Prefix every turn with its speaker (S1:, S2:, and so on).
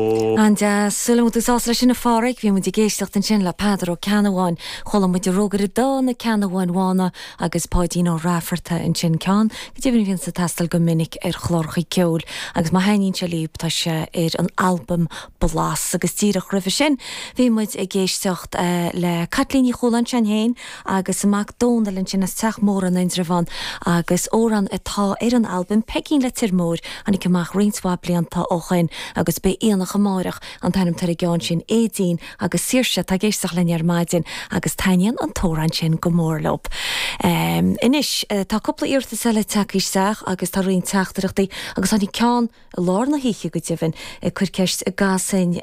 S1: An-deas. Súil agam go bhfuil tú sásta leis sin a Pháraic. Bhí muid ag éisteacht ansin le Peadar Ó Ceannabháin. Chuala muid an Rógaire Dubh, Na Ceannabháin Bhána agus Páidín Ó Raifeartaigh ansin. Ceann go deimhin a bhíonns ag teastáil go minic ar chláracha ceoil agus má thaitníonn sé libh tá sé ar an albam Blas. Agus díreach roimhe sin bhí muid ag éisteacht le Caitlín Ní Chualáin, sin féin agus a mac Dónal ansin as Teach Mór in Indreabhán agus amhrán atá ar an albam Peigín Leitir Móir Tháinig amach roinnt mhaith blianta ó shoin agus Beidh Aonach Amáireach an t-ainm atá ar an gceann sin, Aedín agus Saoirse atá ag éisteacht linn ar maidin agus taitníonn an t-amhrán sin go mór leo. Anois, tá cúpla iarratas eile tagtha isteach agus tá roinnt teachtaireachtaí agus tháinig ceann i lár na hoíche go deimhin ag cur ceist an gcasfainn.